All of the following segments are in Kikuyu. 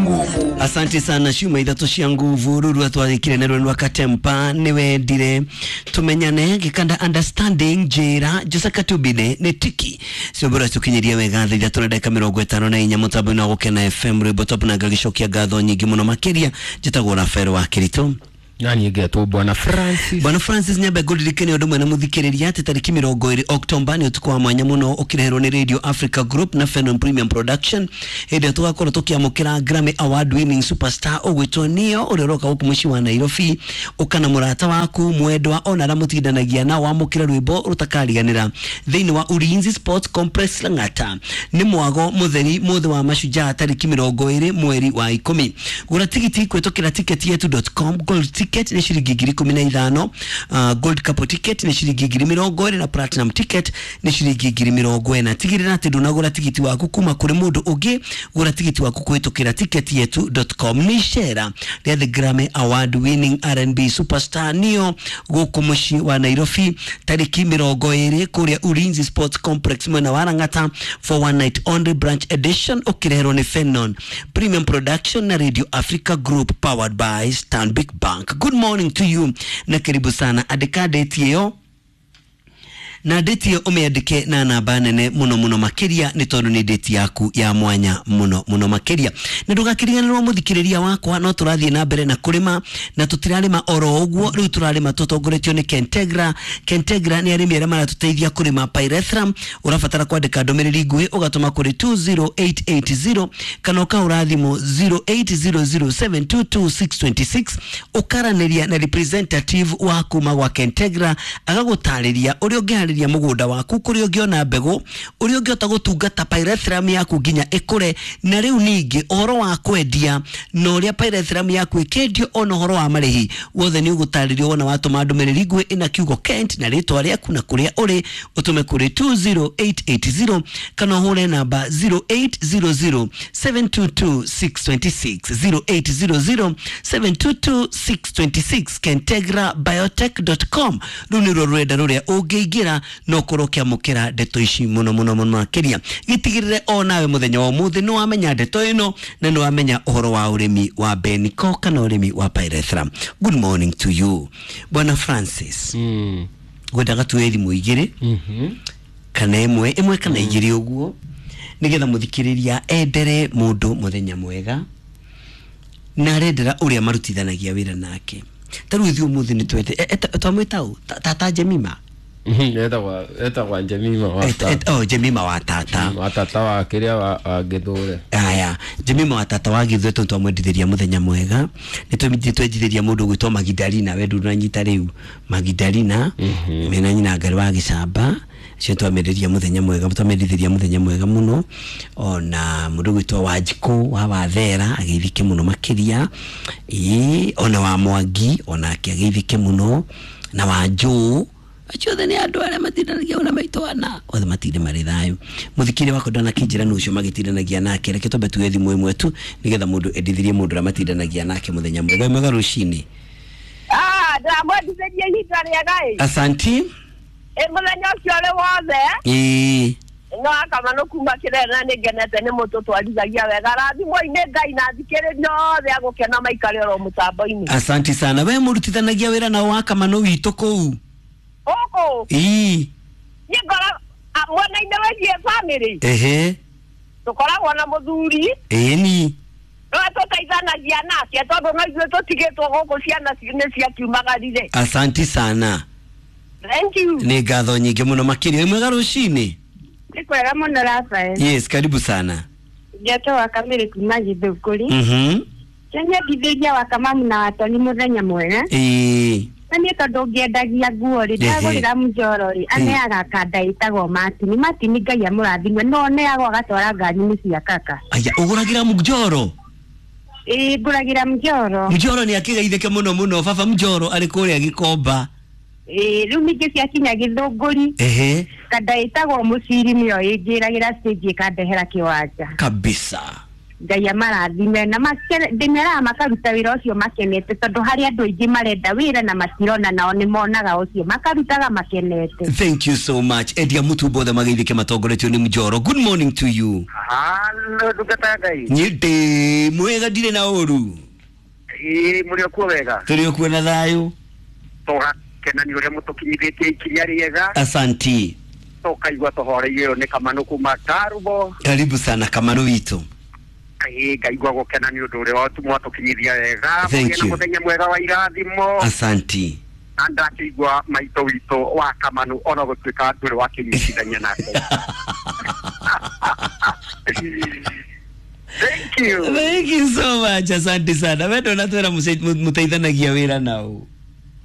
nguvu. Asante sana ciuma ithatũ cia nguvu ruru atwarĩkire na rwenu akatempa nĩwendire tumenyane gĩkanda understanding njĩra Jose Katubine nĩ tiki ciombora tukinyiria wega thaa ithatũ na ndagĩka mĩrongo ĩtano na inya mũtambo-inĩ wa Gũkena FM rwĩmbo top na ngagĩcokia ngatho nyingĩ mũno makĩria. Njĩtagwo Rafael wa Kĩritũ. Nani ngetwo Bwana Francis. Bwana Francis nyambe ngũririkane ũndũ ũmwe na mũthikĩrĩria atĩ tarĩki 20 Oktomba nĩ ũtukũ wa mwanya mũno ũkĩreherwo nĩ Radio Africa Group na Fenon Premium Production hĩndĩ ĩrĩa tũgakorwo tũkĩamũkĩra Grammy Award winning superstar ũgwĩtwo Neo ũrĩa ũroka gũkũ mũciĩ wa Nairobi. Ũka na mũrata waku mwendwa ona arĩa mũtindanagia nao wamũkĩre rwĩmbo rũtakariganĩra thĩinĩ wa Ulinzi Sports Complex Lang'ata. Nĩ mwago mũtheri mũthĩ wa mashujaa tarĩki 20 mweri wa 10. Gũra tigiti kũhĩtũkĩra ticketyetu.com. Gold ticket nĩ ciringi 15,000, gold couple ticket nĩ ciringi 20,000 na platinum ticket nĩ ciringi 40,000. Tigĩrĩra atĩ ndũnagũra tigiti waku kuma kũrĩ mũndũ ũngĩ, gũra tigiti waku kũhĩtũkĩra ticketyetu.com. Nĩ icera rĩa the Grammy Award winning R&B superstar Neo gũkũ mũciĩ wa Nairobi tarĩki 20 kũrĩa Ulinzi Sports Complex mwena wa Lang'ata for one night only branch edition ũkĩreherwo nĩ Fenon Premium Production na Radio Africa Group powered by Stanbic Bank. Good morning to you na karibu sana. Andĩka date ĩyo na date ĩyo ũmĩandĩke na namba nene mũno mũno makĩria nĩ tondũ nĩ date yaku ya mwanya mũno mũno makĩria. Na ndũgakĩriganĩrwo mũthikĩrĩria wakwa, no tũrathiĩ na mbere na kũrĩma na tũtirarĩma oro ũguo, rĩu tũrarĩma tũtongoretio nĩ Kentegra. Kentegra nĩ arĩmi arĩa maratũteithia kũrĩma pyrethrum. Ũrabatara kwandĩka ndũmĩrĩri nguhĩ ũgatũma kũrĩ 20880 kana ũkahũra thimũ 0800722626 ũkaranĩria na representative wa kuma gwa Kentegra agagũtarĩria ũrĩa ũngĩharĩria mũgũnda waku, kũrĩa ũngĩona mbegũ, ũrĩa ũngĩhota gũtungata pyrethrum yaku nginya ĩkũre, na rĩu ningĩ ũhoro wa kwendia na ũrĩa pyrethrum yaku ĩkĩendio, ona ũhoro wa marĩhi wothe nĩ ũgũtarĩrio wona watũma ndũmĩrĩri nguhĩ ĩna kiugo Kent na rĩtwa rĩaku na kũrĩa ũrĩ, ũtũme kũrĩ 20880 kana ũhũre namba 0800722626 0800722626 kentegrabiotech.com. Rũu nĩruo rũrenda rũrĩa ũngĩingĩra no ũkorwo ũkĩamũkĩra ndeto ici mũno mũno mũno makĩria. Gĩtigĩrĩre o nawe mũthenya wa ũmũthĩ nĩ wamenya ndeto ĩno na nĩ wamenya ũhoro wa ũrĩmi wa Beniko kana ũrĩmi wa pyrethrum. Good morning to you Bwana Francis. Ngwendaga tuoye thimũ igĩrĩ kana ĩmwe ĩmwe kana igĩrĩ ũguo nĩgetha mũthikĩrĩria endere mũndũ mũthenya mwega na arendera ũrĩa marutithanagia wĩra nake. Ta rĩu ithuĩ ũmũthĩ nĩ twende twamwĩta ũ tata Jemima. Etagwa Jemima wa tata. Oh, Jemima wa tata. Wa tata wa kĩrĩa wa Gĩthũre. Aya, Jemima wa tata wa Gĩthũre tondũ twamwendithĩria mũthenya mwega. Nĩ twendithĩria mũndũ ũgwĩtwo Magdalena, we ndũnanyita rĩu Magdalena mena nyina Ngarĩ wa Gĩcamba. Acio twamendithĩria mũthenya mwega, twamendithĩria mũthenya mwega mũno. Ona mũndũ ũgwĩtwo Wanjikũ wa Wathera ageithĩke mũno makĩria. Ĩĩ, ona wa Mwangi onake ageithĩke mũno, na Wanjũ. Acio othe nĩ andũ arĩa matindanagia ona maitũ ana othe matinde marĩ thayũ. Mũthikĩrĩria wakwa ndanakĩnjĩra nũ ũcio magĩtindanagia nake, reke twambe tuoye thimũ ĩmwe tu nĩgetha mũndũ endithirie mũndũ ũrĩa matindanagia nake mũthenya mwega. Mwega rũcinĩ. Ndamwendithĩria ihinda rĩega ĩ. Asanti. Ĩ mũthenya ũcio ũrĩ wothe. Ĩĩ. No akamano kuma kĩrĩa na nĩ ngenete nĩ mũtũtwarithagia wega. Rathimwo-inĩ Ngai na thikĩrĩria othe agũkena maikare oro mũtambo-inĩ. Asanti sana. We mũrutithanagia wĩra nao wa Kamano witũ kũu? Gũkũ? Ĩĩ. Niĩ ngora mwena-inĩ wĩgiĩ family. Ehe. Tũkoragwo na mũthuri. Ĩni. No tũteithanagia nake tondũ no ithuĩ tũtigĩtwo gũkũ ciana nĩ ciakiumagarire. Asanti sana. Thank you. Nĩ ngatho nyingĩ mũno makĩria. Wĩ mwega rũcinĩ? Nĩ kwega mũno Rafael. Yes, karibu sana. Ngetwo wa Kamĩrĩ kuma Gĩthũngũri. Nyendithĩria wa Kamamu na Watoni mũthenya mwega. Ĩĩ. Na niĩ tondũ ngĩendagia nguo rĩ, ndagũrĩra mũjoro rĩ, aneaga kanda ĩtagwo Martini. Martini Ngai amũrathime, no aneagwo agatwara ngari-inĩ cia kaka. Aya, ũgũragĩra mũjoro? Ĩĩ, ngũragĩra mũjoro. Mũjoro nĩ akĩgeithĩke mũno mũno, baba mũjoro arĩ kũrĩa Gĩkomba. Ĩĩ, rĩu ningĩ ciakinya Gĩthũngũri. Ehe. Kanda ĩtagwo mũciri nĩyo ĩnjĩragĩra stage ĩkandehera kĩwanja. Kabisa. Ngai amarathime na ndĩmeraga makaruta wĩra ũcio makenete tondũ harĩ andũ aingĩ marenda wĩra na matirona, nao nĩ monaga ũcio makarutaga makenete. Thank you so much. Edia Mutu bothe mageithĩke matongoretio nĩ Mjoro. Good morning to you. Hello. Ndungata ya Ngai. Niĩ ndĩ mwega, ndirĩ na ũru. Ĩĩ, mũrĩ o kuo wega? Tũrĩ o kuo na thayũ. Tũgakena nĩ ũrĩa mũtũkinyithĩtie ikinya rĩega. Asanti. Tũkaigua tũhoreire. Ũyũ nĩ Kamanũ kuma Karubo. Karibu sana, Kamanũ witũ. Ĩĩ, ngaigua gũkena nĩ ũndũ ũrĩa mwatũkinyithia wega. Thank Mũgĩe na you. mũthenya mwega wa irathimo. Asanti. Na ndakĩigua maitũ witũ wa Kamanũ ona gũtuĩka ndũrĩ wakĩnyitithania nake. Thank you. Thank you so much, asante sana. We ndũnatwĩra mũteithanagia wĩra nao?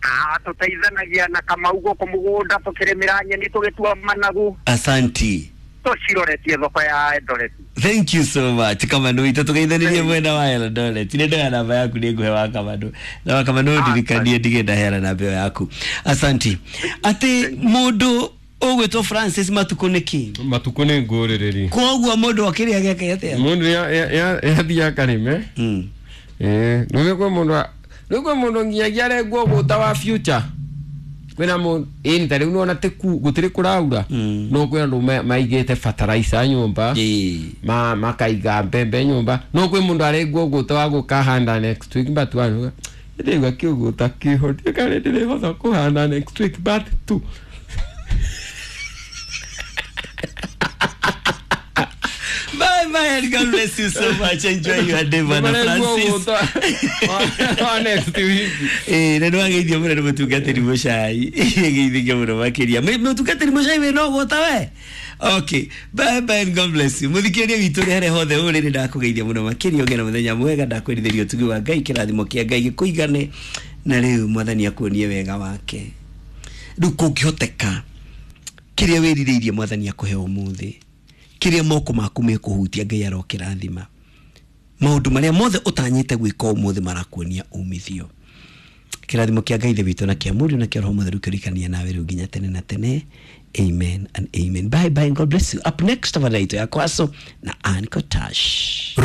Ah, tũteithanagia na Kamau gũkũ mũgũnda, tũkĩrĩmĩra nyeni, tũgĩtua managu. Asanti. Tũciroretie thoko ya Eldoret. Thank you so much, Kamanũ witũ. Tũgeithanĩrie mwena wa Eldoret. Nĩ ndoya namba yaku, nĩ ngũhe wa Kamanũ na wa Kamanũ. Ndirikanie ndige ndaheana namba ĩyo yaku. Asanti. Atĩ mũndũ ũgwĩtwo Francis, matukũ nĩ kĩ? Matukũ nĩ ngũrĩrĩri. Koguo mũndũ akĩrĩa gĩake atĩa? Mũndũ yathiĩ akarĩme. Rĩu kwĩ mũndũ, rĩu kwĩ mũndũ nginyagia arengwo ũgũta wa future. Kwĩna mũndũ ĩni ta rĩu nĩwona tĩku gũtirĩ kũraura, no kwĩ andũ maigĩte fertilizer nyũmba, ma makaiga mbembe nyũmba. No kwĩ mũndũ arengwo ũgũta wa gũkahanda next week, but wanuga ndĩigua kĩũgũta kĩho, ndiũkarĩ ndĩrĩhota kũhanda next week but tu. Bye bye and God bless you so much. Enjoy your day, Bwana Marengwo Francis. ũgũta wa next week. Ĩĩ, na nĩwageithio mũno nĩ mũtungatĩri mũcai. Geithĩke mũno makĩria. Mũtungatĩri mũcai wĩna ũgũta we. Okay, bye bye and God bless you. Mũthikĩrĩria witũ ũrĩa harĩa hothe ũrĩ, nĩ ndakũgeithia mũno makĩria. Ũgĩe na mũthenya mwega. Ndakwĩrithĩria ũtugi wa Ngai, kĩrathimo kĩa Ngai gĩkũigane, na rĩu Mwathani akuonie wega wake. Rĩu kũngĩhoteka, kĩrĩa wĩrirĩirie Mwathani akũhe ũmũthĩ, kĩrĩa moko maku mekũhutia, Ngai arokĩrathima. Maũndũ marĩa mothe ũtanyĩte gwĩka ũmũthĩ marakuonia umithio. Kĩrathimo kĩa Ngai Ithe witũ na kĩa Mũriũ na kĩa Roho Mũtheru kĩrikania nawe rĩu nginya tene na tene. Amen and amen. Bye bye and God bless you. Up next, tafadhali ya Kwaso na Ann Kotash.